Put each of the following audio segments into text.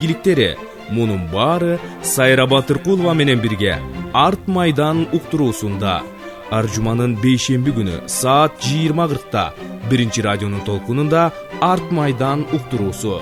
Иликтери мунун баары Сайра Батыркулова менен бирге Арт майдан уктуруусунда ар жуманын бейшемби күнү саат 20:40 биринчи радионун толкунунда Арт майдан уктуруусу.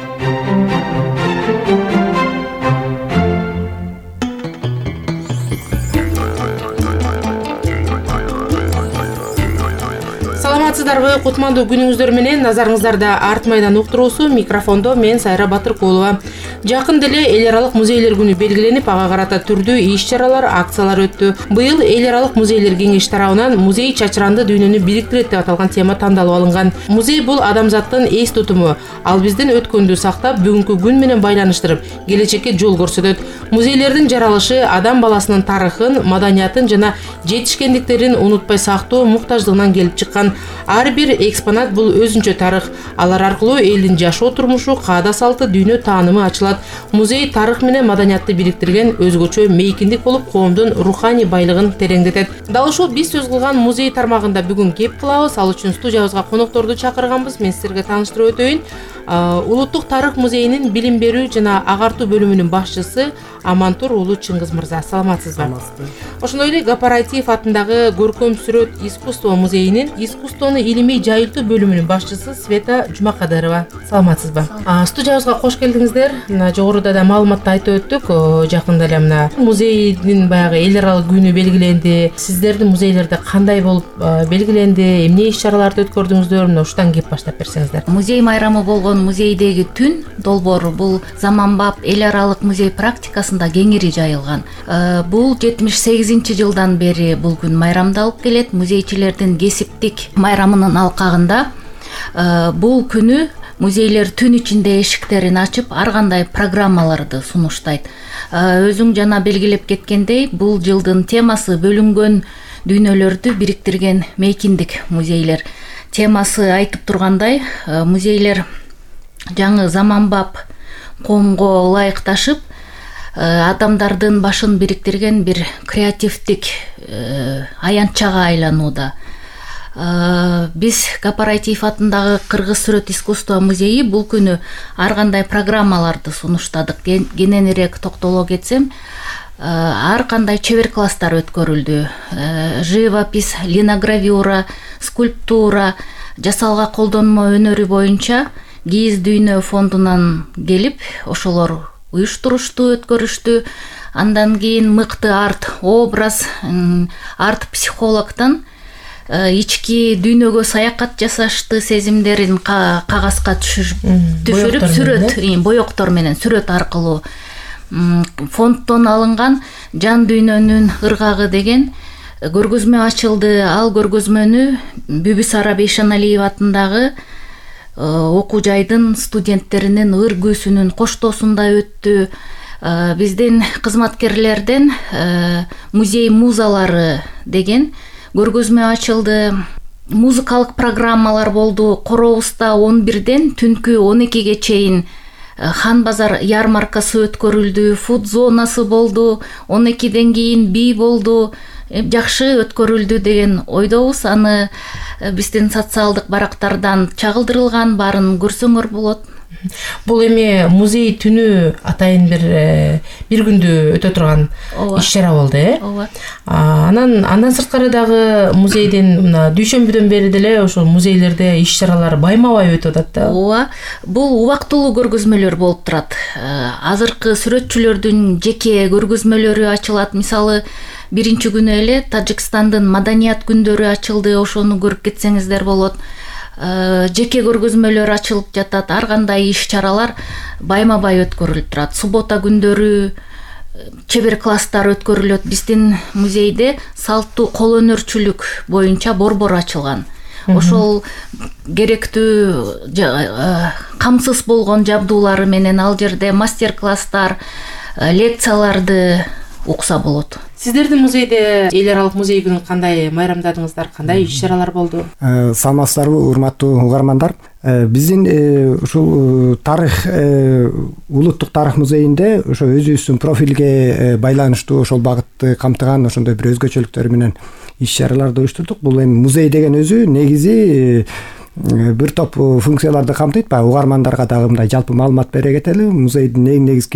Саламатсыздарбы, кутмандуу күнүңүздөр менен. Назарыңыздарда Арт майдан уктуруусу. Микрофондо мен Сайра Батыркулова. Жакын деле эл аралык музейлер күнү белгиленип, ага карата түрдүү иш-чаралар, акциялар өттү. Быйыл эл аралык музейлер кеңеши тарабынан музей чачыранды дүйнөнү бириктирет деп аталган тема тандалып алынган. Музей бул адамзаттын эс тутуму. Ал биздин өткөндү сактап, бүгүнкү күн менен байланыштырып, келечекке жол көрсөтөт. Музейлердин жаралышы адам баласынын тарыхын, маданиятын жана жетишкендиктерин унутпай сактоо муктаждыгынан келип чыккан. Ар бир экспонат бул өзүнчө тарых. Алар аркылуу элдин жашоо турмушу, каада салты, дүйнө таанымы ачылат. Музей тарых менен маданиятты бириктирген өзгөчө мейкиндик болуп, коомдун руханий байлыгын тереңдетет. Дал ушул биз сөз кылган музей тармагында бүгүн кеп кылабыз. Ал үчүн студиябызга конокторду чакырганбыз. Мен силерге тааныштырып өтөйүн. Улуттук тарых музейинин билим берүү жана агартуу бөлүмүнүн башчысы Амантур уулу Чыңгыз мырза. Саламатсызбы? Ошондой эле Гапараитиев атындагы Көркөм сүрөт искусство музейинин искусствону илимий жайылтуу бөлүмүнүн башчысы Света Жумакадырова. Саламатсызбы? Студиябызга кош келдиңиздер. Жогоруда да маалыматты айтып өттүк. Жакында эле мына музейдин баягы эл аралык күнү белгиленди. Сиздердин музейлерде кандай болуп белгиленди? Эмне иш-чараларды өткөрдүңүздөр? Мына ушудан кеп баштап берсеңиздер. Музей майрамы болгон музейдеги түн долбоору бул заманбап эл аралык музей практикасында кеңири жайылган. Бул 78-жылдан бери бул күн майрамдалып келет. Музейчилердин кесиптик майрамынын алкагында бул күнү музейлер түн ичинде эшиктерин ачып, ар кандай программаларды сунуштайт. Өзүң жана белгилеп кеткендей, бул жылдын темасы бөлүнгөн дүйнөлөрдү бириктирген мейкиндик музейлер. Темасы айтып тургандай, музейлер жаңы заманбап коомго ылайыкташып, адамдардын башын бириктирген бир креативдик аянтчага айланууда. Биз Гапараитиев атындагы Кыргыз сүрөт искусство музейи бул күнү ар кандай программаларды сунуштадык. Кененирээк токтоло кетсем, ар кандай чебер класстар өткөрүлдү. Живопись, линогравюра, скульптура, жасалга колдонмо өнөрү боюнча Кийиз дүйнө фондунан келип, ошолор уюштурушту, өткөрүштү. Андан кийин мыкты арт образ, арт психологтон ички дүйнөгө саякат жасашты, сезимдерин кагазга түшүрүп сүрөт, боектор менен сүрөт аркылуу фонддон алынган Жан дүйнөнүн ыргагы деген көргөзмө ачылды. Ал көргөзмөнү Бүбүсара Бейшеналиева атындагы окуу жайдын студенттеринин ыр күүсүнүн коштоосунда өттү. Биздин кызматкерлерден музей музалары деген көргөзмө ачылды. Музыкалык программалар болду. Коробузда 11-ден түнкү 12-ге чейин Хан базар ярмаркасы өткөрүлдү. Фуд зонасы болду. 12-ден кийин бий болду. Жакшы өткөрүлдү деген ойдобуз. Аны биздин социалдык барактардан чагылдырылган, баарын көрсөңөр болот. Бул эми музей түнү атайын бир күндү өтө турган иш-чара болду, Ооба. Андан сырткары дагы музейдин мына дүйшөмбүдөн бери деле ошол музейлерде иш-чаралар байма-бай өтүп атат да. Ооба. Бул убактылуу көргөзмөлөр болуп турат. Азыркы сүрөтчүлөрдүн жеке көргөзмөлөрү ачылат. Мисалы, биринчи күнү эле Тажикстандын маданият күндөрү ачылды. Ошону көрүп кетсеңиздер болот. Жеке көргөзмөлөр ачылып жатат. Ар кандай иш-чаралар байма-бай өткөрүлүп турат. Суббота күндөрү чебер класстар өткөрүлөт. Биздин музейде салттуу кол өнөрчүлүк боюнча борбор ачылган. Ошол керектүү камсыз болгон жабдуулары менен ал жерде мастер-класстар, лекцияларды укса болот. Сиздердин музейде эл аралык музей күнүн кандай майрамдадыңыздар? Кандай иш-чаралар болду? Саламатсыздарбы, урматтуу угармандар. Биздин ушул тарых, улуттук тарых музейинде ошо өзүбүздүн профилге байланыштуу ошол багытты камтыган ошондой бир өзгөчөлүктөр менен иш-чараларды уюштурдук. Бул эми музей деген өзү негизи бир топ функцияларды камтыйт. Баягы угармандарга дагы мындай жалпы маалымат бере кетели. Музейдин эң негизги